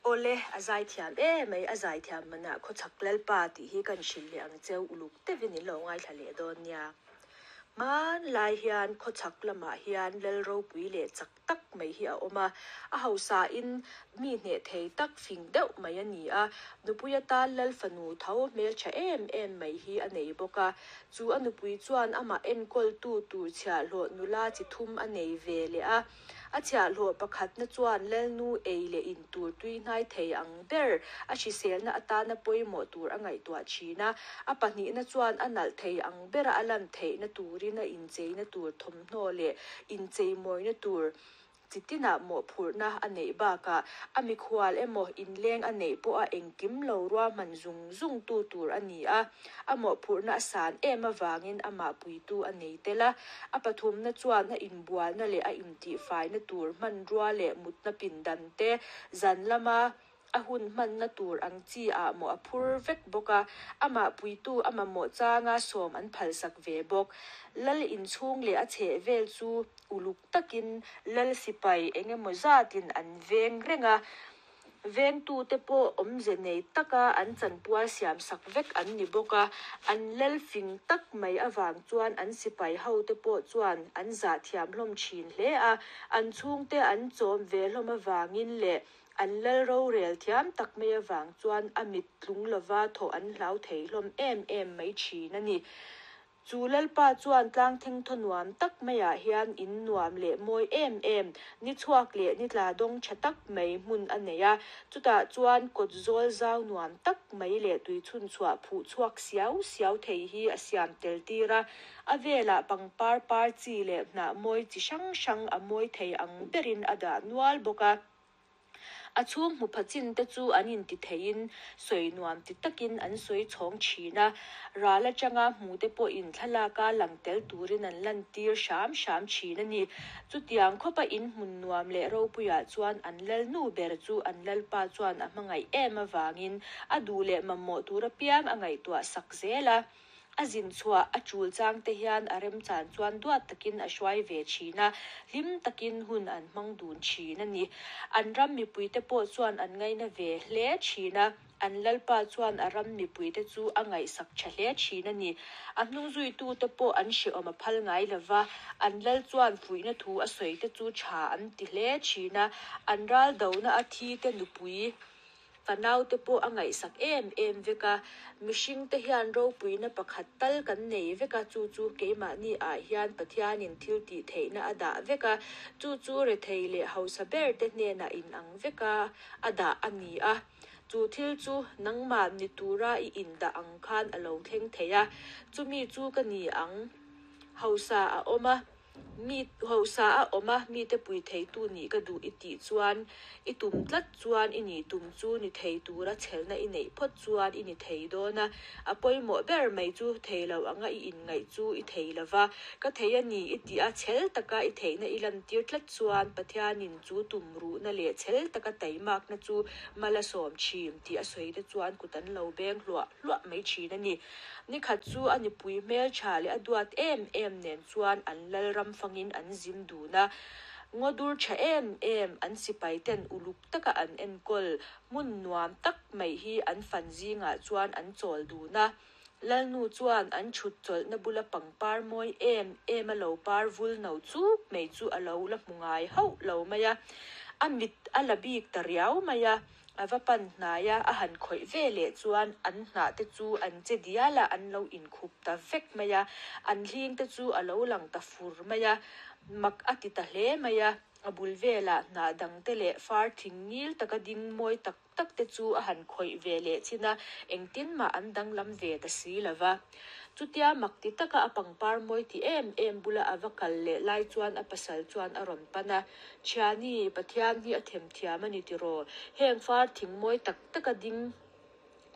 Awle, a zaithiam em mai, a zaithiam manah khawchhak Lalpa tih hi kan hrilh leh ang cheu uluk deuhin in lo ngaithla leh dawn nia. Hmanlai hian khawchhak lamah hian Lal ropui leh chak tak mai hi a awm a, a hausain mi hneh thei tak fing deuh mai a ni a, nupui atan Lal fanu tho hmeltha em em mai hi a nei bawk a, chu a nupui chuan amah enkawltu tur chhiahhlawh nula chi thum a nei ve leh a. A chhiahhlawh pakhatna chuan Lalnu ei leh in tur tui hnai thei ang ber a hriselna atana pawimawh tur a ngaihtuah thin a. A pahnihna chuan a nalh thei ang bera a lan theihna turin a incheina tur thawmhnaw leh incheimawina tur chi tinah mawhphurhna a neih bakah a mikhual emaw inleng a neih pawha engkim lo ruahman zung zung tu tur a ni a. A mawhphurhna a san em avangin amah puitu a nei tel a. A pathumna chuan a inbualna leh a intihfaina tur hmanrua leh mutna pindan te, zan lama a hun hmanna tur ang chi ah mawh a phur vek bawk a, amah puitu a mamawh changa sawm an phalsak ve bawk. Lal inchhung leh a chhehvel chu uluk takin lal sipai eng emaw zatin an veng reng a. Vengtute pawh awmze nei taka an chanpual siam sak vek an ni bawk a, an lel fing tak mai avang chuan an sipai hote pawh chuan an zah thiam hlawm thin hle a, an chhungte an chawm ve hlawm avangin leh an lal rorel thiam tak mai avang chuan a mit tlung lova thawh an hlau thei hlawm em em mai thin a ni. Chu Lalpa chuan tlang thengthaw nuam tak maiah hian in nuam leh mawi em em, ni chhuak leh ni tla dawng tha tak mai hmun a nei a. Chutah chuan kawt zawl zau nuam tak mai leh tui chhunchhuah phuh chhuak siau siau thei hi a siam tel tir a. A velah pangpar par chi leh hnah mawi chi hrang hrang a mawi thei ang berin a dah nual bawk a. A chhung hmu pha chin te chu an inti theiin sawi nuam ti takin an sawi chhawng thin a, ral atanga hmu te pawhin thlalaka lang tel turin an lantir hram hram thin a ni. Chutiang khawpa in hmun nuam leh ropuiah chuan an lalnu ber chu an lalpa chuan a hmangaih em avangin a duh leh mamawh tur apiang a ngaihtuah sak zel a. A zin chhuah a chul chang te hian a remchan chuan duat takin a hruai ve thin a, hlim takin hun an hmang dun thin a ni. An ram mipuite pawh chuan an ngaina ve hle thin a, an Lalpa chuan a ram mipuite chu a ngaihsak tha hle thin a ni. A hnungzuitute pawh an hrehawm a phal ngai lo va, an Lal chuan fuihna thu a sawi te chu tha an ti hle thin a, an ral dona a thi te nupui Ka naute pawh a ngaihsak em em vek a, mihringte hian ropuina pakhat tal kan nei vek a, chu chu keimahni ah hian Pathianin thil tih theihna a dah vek a, chu chu rethei leh hausa ber te hnenah inang vek a a dah a ni a, chu thil chu nangmah ni tura i indah ang khan a lo thleng thei a, chumi chu ka ni ang hausa a awm a. Mi hausa a awm a, mite pui theitu nih ka duh i tih chuan, i tum tlat chuan i nih tum chu ni thei tura chhelna i neih phawt chuan i ni thei dawn a. A pawimawh ber mai chu thei lo anga i inngaih chu i thei lo va, ka thei a ni i tih a, chhel taka i theihna i lantir tlat chuan Pathianin chu tum ruhna leh chhel taka taimakna chu mal a sawm thin tih a sawi te chuan kut an lo beng hluah hluah mai thin a ni. Ni khat chu a nipui hmeltha leh a duat em em nen chuan an lal ram fangin an zin dun a. Ngaw dur tha em em an sipai ten uluk taka an enkawl hmun nuam tak mai hi an fan zingah chuan an chawl dun a. Lalnu chuan an chhut chawlhna bula pangpar mawi em em a lo par vul no chuk mai chu a lo la hmu ngai hauh lo mai a. A mit a la bik ta riau mai a. A va pan hnai a, a han khawih ve leh chuan an hnah te chu an che dial a, an lo inkhup ta vek mai a, an hling te chu a lo lang ta fur mai a, mak a ti ta hle mai a, a bul velah hnah dang te leh far thing ngil taka ding mawi tak tak te chu a han khawih ve leh chin a, engtin mah an danglam ve ta si lo va. Chutia mak ti taka a pangpar mawi ti em em bula a va kal leh lai chuan a pasal chuan a rawn pan a, Thiani, Pathian hi a themthiam a ni tiraw? Heng far thing mawi tak taka ding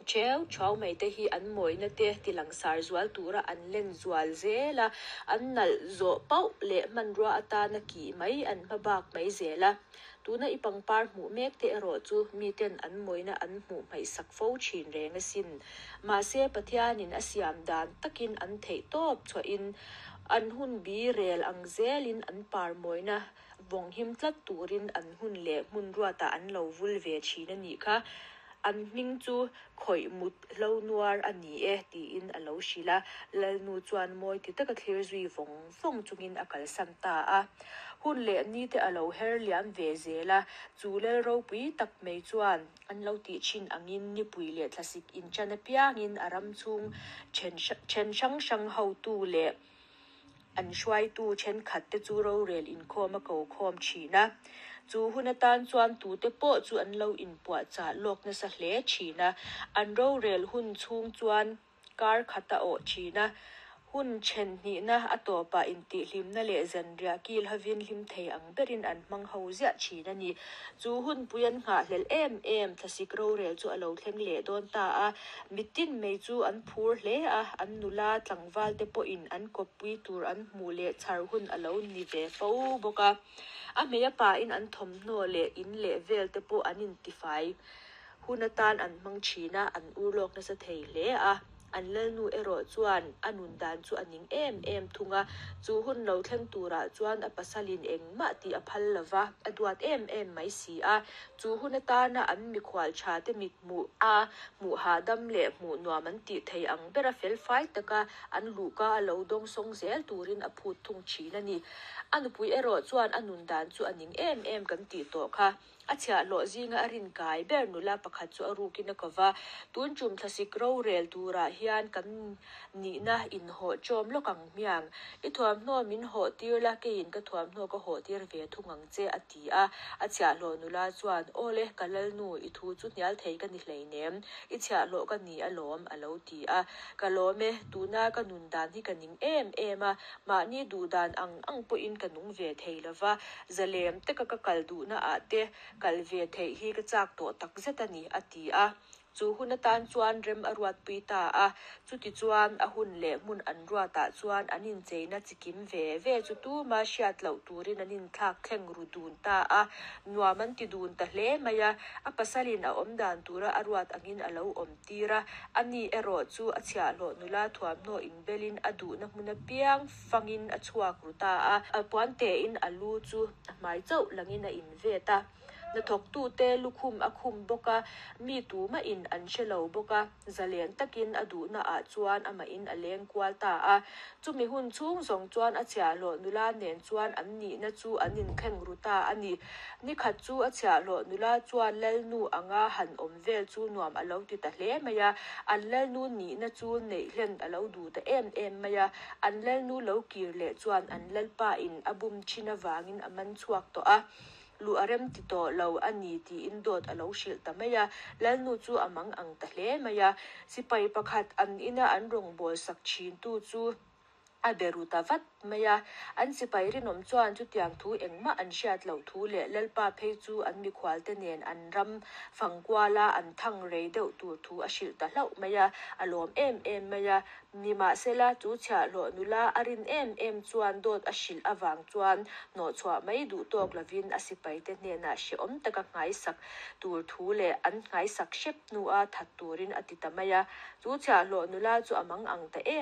theu thuau mai te hi an mawina te tilangsar zual tura an len zual zel a, an nalh zawh pauh leh hmanrua atana kih mai an hma bak mai zel a. Tuna i pangpar hmuh mek te erawh chu miten an mawina an hmuh hmaihsak fo thin reng asin. Mahse, Pathianin a siam dan takin an theih tawp chhuahin. An hun bi rel ang zelin an par mawina vawng him tlat turin an hun leh hmun ruatah an lo vul ve thin a nih kha. An hming chu khawih mut hlo nuar a ni e, tiin a lo hrilh a. Lalnu chuan mawi ti taka thlir zui vawng vawng chungin a kalsan ta a. Hun leh ni te a lo her liam ve zel a, chu lal ropui tak mai chuan an lo tih thin angin nipui leh thlasik inṭan apiangin a ram chhung then hrang hrang hotu leh an hruaitu thenkhat te chu rorel inkhawm a ko khawm thin a. Chu hun atan chuan tute pawh chu an lo inpuahchah lawk nasa hle thin a. An rorel hun chhung chuan kar khat a awh thin a. Hun then hnihna a tawpah intihhlimna leh zanriah kil hovin hlim thei ang berin an hmang ho ziah thin a ni. Chu hunpui an nghahhlelh em em thlasik rorel chu a lo thleng leh dawn ta a. Mitin mai chu an phur hle a, an nula tlangval te pawhin an kawppui tur an hmuh leh chhar hun a lo ni ve fo bawk a. A hmei a pain an thawmhnaw leh in leh vel te pawh an intifai hun atan an hmang thin a, an ur lawk nasa thei hle a. An lalnu erawh chuan a nun dan chu a ning em em thung a, chu hun lo thleng turah chuan a pasalin engmah tih a phal lo va, a duat em em mai si a. Chu hun atana an mikhual tha te mit hmuh a, hmuh hahdam leh hmuh nuam an tih thei ang bera felfai taka an luhka a lo dawngsawng zel turin a phut thung thin a ni. A nupui erawh chuan a nun dan chu a ning em em kan tih tawh kha. A chhiahhlawh zinga a rin kai ber nula pakhat chu a rukin a ko va, Tun tum thlasik rorel turah hian kan nihna inhawh ṭawm lawk ang hmiang. I thuamhnaw min hawh tir la, keiin ka thuamhnaw ka hawh tir ve thung ang che, a ti a. A chhiahhlawh nula chuan, Aw le, ka lalnu, i thu chu hnial thei ka ni hleinem, i chhiahhlawh ka ni alawm, a lo ti a. Ka lawm e, tuna ka nun dan hi ka ning em em a, mahni duh dan ang ang pawhin ka nung ve thei lo va, zalem taka ka kal duhna ah te kal ve theih hi ka chak tawh tak zet a ni, a ti a. Chu hun atan chuan rem a ruatpui ta a. Chutichuan, a hun leh hmun an ruatah chuan an incheina chikim ve ve chu tuma hriat loh turin an inthlak thleng ru dun ta a. Nuam an ti dun ta hle mai a. A pasalin a awm dan tura a ruat angin a lo awm tir a. Ani erawh chu a chhiahhlawh nula thuamhnaw inbelin a duhna hmun apiang fangin a chhuak ru ta a. A puan tein a lu chu a hmai chauh langin a invet a. Hnathawktute lukhum a khum bawk a, mi tumahin an hre lo bawk a, zalen takin a duhnaah chuan amahin a leng kual ta a. Chumi hun chhung zawng chuan a chhiahhlawh nula nen chuan an nihna chu an inthleng ru ta a ni. Nikhat chu a chhiahhlawh nula chuan lalnu anga han awm vel chu nuam a lo ti ta hle mai a, an lalnu nihna chu neih hlen a lo duh ta em em mai a. An lalnu lo kir leh chuan an lalpain a bum thin avangin a man chhuak tawh a. Luh a rem ti tawh lo a ni tiin dawt a lo hrilh ta mai a, Lalnu chu a mang ang ta hle mai a. Sipai pakhat an ina an rawngbâwl sak thintu chu a be ru ta vat mai a. An sipai rinawm chuan chutiang thu engmah an hriat loh thu leh Lalpa phei chu an mikhualte nen an ram fang kuala an thang rei deuh tur thu a hrilh ta hlauh mai a, a lawm em em mai a. Nimahsela, chu chhiahhlawh nula a rin em em chuan dawt a hrilh avang chuan hnawhchhuah mai duh tawk lovin a sipaite hnenah hrehawm taka nghaisak tur thu leh an nghaisak hrep hnua that turin a ti ta mai a. Chu chhiahhlawh nula chu a mang ang ta em.